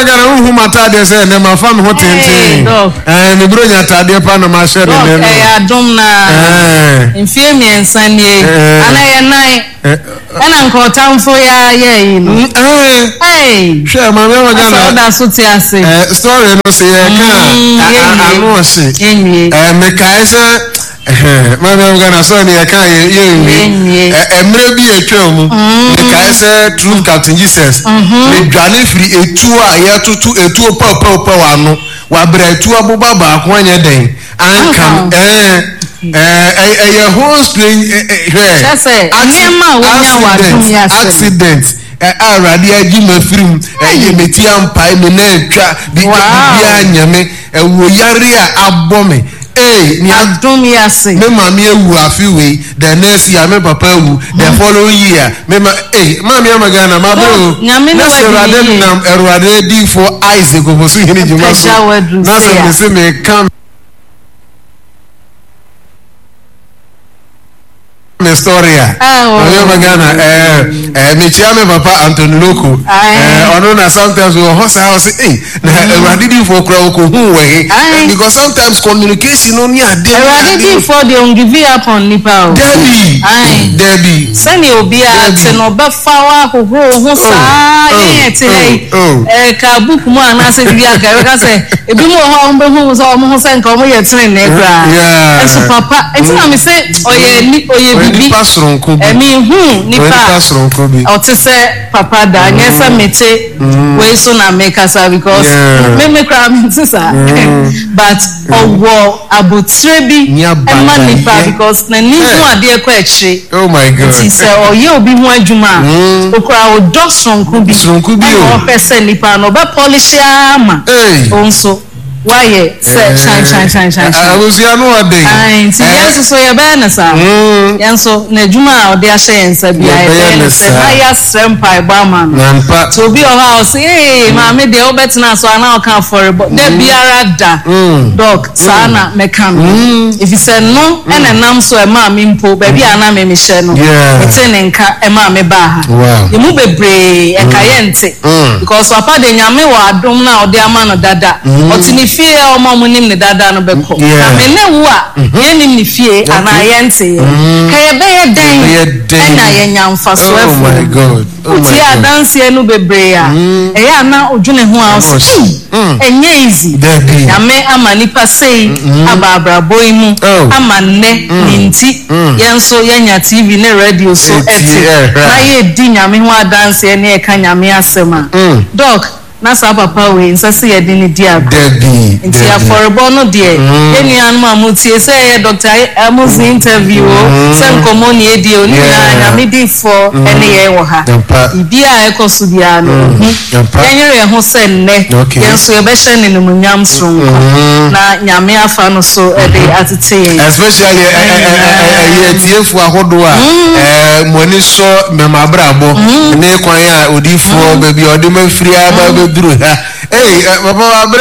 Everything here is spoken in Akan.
ama Ghana wohu m'ataadeɛ sɛ ɛnɛ mafa me ho tenten. Ɛɛ me buro nya ataadeɛ pa na mahyɛ ne nɛ no. Ɛyɛ adom na mfie mmiɛnsa nie ana yɛ nan ɛna nka ɔtamfo yɛ ayɛ yi no. Hwɛ maame ama Ghana. Asɛ ɔda so te ase. Story no sɛ yɛ ka ano ɔhye. Mekae sɛ. Maame am Ghana sɛ ne yɛka yɛ yɛnwie mmerɛ bi atwa mu mekae sɛ true Captain Jesus medwane firi etuo a yɛtoto etuo pɛwpɛwpɛw ano wabrɛ etuo aboba baako anyɛ dɛn anka ɛɛ ɛyɛ whole strange hwɛ accident accident a Awurade agye ma firi mu ɛyɛ meti ampae me na atwa biribiara nyɛ me Ɛwɔ yare a abɔ me ee nea. Adom yi ase. Me maame awu afe wei, the next year me papa awu, the following year me ma ee maame ama Ghana ma bere o. Nyame ne Na sɛ wadi Awurade ne yie. nam Awurade diifoɔ Isaac Ofosuhene dwuma so Apagya w'aduru na sɛ sei a. mese meka me story a maame ama Ghana ɛɛ ɛɛ mekyia me papa Anthony Loko ɛɛ ɔno na sometimes wɔ hɔ saa ɔsɛ ee na awurade difoɔ kura ɔkɔ hu wɔ he because sometimes communication no ne adeɛ awurade difoɔ deɛ on give up on nipa o dabi dabi sɛnea obiara te no ɔbɛfa wo ahohoro ho saa yɛn yɛ te ha yi ɛka book mu anaasɛ biribi anka ɛbɛka sɛ ebi mu wɔ hɔ a wɔbɛhu sɛ wɔn ho sɛ nka wɔn yɛ tenenee koraa ɛso papa nti na me sɛ ɔyɛ ni ɔyɛ bibi nipa soronko bi ɛmi hu nipa a ɔte sɛ papa da nyɛ sɛ mm. mete mm. wei so na mekasa because me me koraa mente saa but ɔwɔ abotire bi ɛma nipa because n'ani ho adeɛ kɔ akyire oh my god nti sɛ ɔyɛ obi ho adwuma a okura ɔdɔ soronko bi ɛna ɔpɛ sɛ nipa no ɔbɛ polish ama ɔnso. Wayɛ sɛ hyɛn hyɛn hyɛn hyɛn hyɛn. Abusua no ɔden. Ayi nti yɛn nso so yɛbɛyɛ no saa. Yɛn nso n'adwuma a ɔde ahyɛ yɛn nsa bia yɛbɛyɛ no sɛ na yɛasrɛ mpaebɔ ama no. Nti obi wɔ hɔ a ɔse ee maame deɛ wobɛtena so anaa ɔka afɔrebɔ da biara da dɔk saa na mɛka no efisɛ no ɛna ɛnam so ɛmaa me mpo baabi a na me mehyɛ no metee ne nka ɛmaa me baa ha. Yɛn mu bebree ɛka yɛnte. Because papa de Nyame wɔ adom no a ɔde ama no dada. Ɔte ne fie a ɔma ɔmo nim no dada no bɛkɔ. Na me ne wo a yɛnnim ne fie anaa yɛnte yɛ no, ka yɛbɛyɛ dɛn anya yɛnya mfasoɔ afiri mu? Wotie adanseɛ no bebree a, ɛyɛ a na wodwene ho a wose ei, ɛnyɛ easy. Nyame ama nipa sei aba abrabɔ yi mu ama nnɛ ne nti. Yɛn nso yɛanya TV ne radio so te na yɛredi Nyame ho adanseɛ ne yɛka Nyame asɛm a, Doc, na saa papa wei nsɛ sɛ yɛde no di agorɔ. Nti afɔrebɔ no deɛ, yɛn nuanom a motie, sɛ ɛyɛ Doctor Amuzi interview o, sɛ nkɔmmɔ ne yɛdie o, ne nyinaa Nyame difoɔ ne yɛn wɔ ha. Biribiara a ɛkɔ so biara no, ɔhu. Yɛnyere yɛn ho sɛ nnɛ yɛn nso yɛbɛhyɛ no animuonyam soronko na Nyame afa no so de atete yɛn. Especially ɛyɛ atiefo ahodoɔ a mo ani sɔ mɛma abrabɔ ne kwan a odiifoɔ baabi a ɔde ma firi aba bɛduru ha. Ei papa wabrɛ.